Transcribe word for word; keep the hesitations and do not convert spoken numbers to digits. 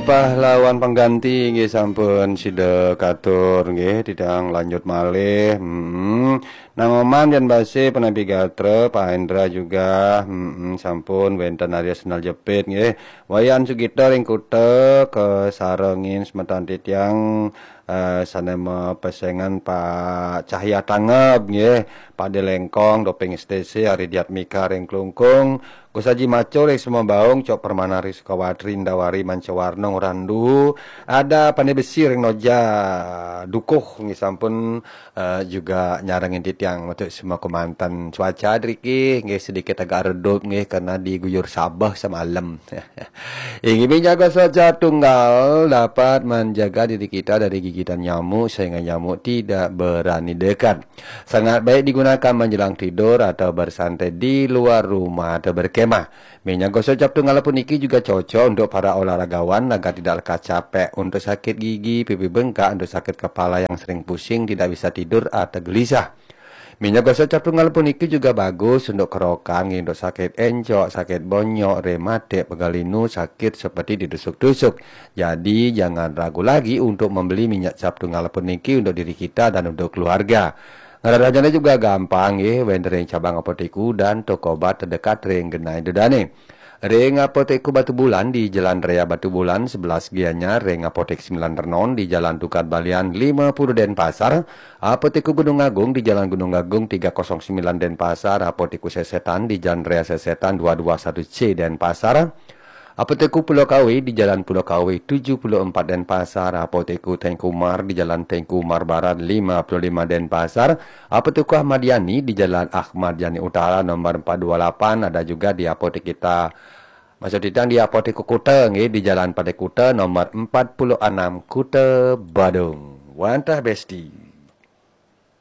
Pahlawan pengganti nggih sampun sida katur nggih, titiang lanjut malih. Hmm. Nang Oman Jan Base, Penabi Gatra, Pak Hendra juga, hmm, sampun wenten Arya Sendal Jepit nggih. Wayan Sugita ring Kuta, kasarengin semeton titiang, eh, sane mapesengan Pak Cahya Tangeb nggih, Pak Delengkong, Doping S T C, Ari Diatmika ring Klungkung, Gus Haji Macul ring Semabaung, Cok Permana ring Sukawati, Indawari Mancawarna, Ngurah Duhu, ada Pandai Besi ring Noja Dukuh nggih sampun, eh, juga nyarengin titiang metu semua kemanten. Cuaca driki nggih sedikit agak redup nggih karena diguyur sabeh semalam. Inggih, minyak gosok cap tunggal dapat menjaga diri kita dari gigitan nyamuk sehingga nyamuk tidak berani dekat. Sangat baik digunakan menjelang tidur atau bersantai di luar rumah atau berkemah. Minyak gosok cap tunggal puniki juga cocok untuk para olahragawan agar tidak lekas capek, untuk sakit gigi, pipi bengkak, untuk sakit kepala yang sering pusing, tidak bisa tidur atau gelisah. Minyak gosok cap tunggal puniki juga bagus untuk kerokan, untuk sakit encok, sakit bonyok, rematik, pegal linu, sakit seperti ditusuk-tusuk. Jadi, jangan ragu lagi untuk membeli minyak cap tunggal puniki untuk diri kita dan untuk keluarga. Ngrerehnyane juga gampang nggih, wenten ring cabang Apotek Udan, toko obat terdekat ring genah ida dane. Ring Apotek Batubulan di Jalan Raya Batubulan sebelas Gianyar, ring Apotek Sembilan Renon di Jalan Tukad Balian lima puluh Denpasar, Apotek Gunung Agung di Jalan Gunung Agung tiga kosong sembilan Denpasar, Apotek Sesetan di Jalan Raya Sesetan dua dua satu C Denpasar, Apotek Pulau Kawe di Jalan Pulau Kawe tujuh puluh empat Denpasar, Apotek Tengku Umar di Jalan Tengku Umar Barat lima puluh lima Denpasar, Apotek Ahmad Yani di Jalan Ahmad Yani Utara nomor empat dua lapan, ada juga di apotek kita. Maksud titiang di Apotek Kuta nggih, di Jalan Pantai Kuta nomor empat puluh enam, Kuta Badung. Wantah Besti.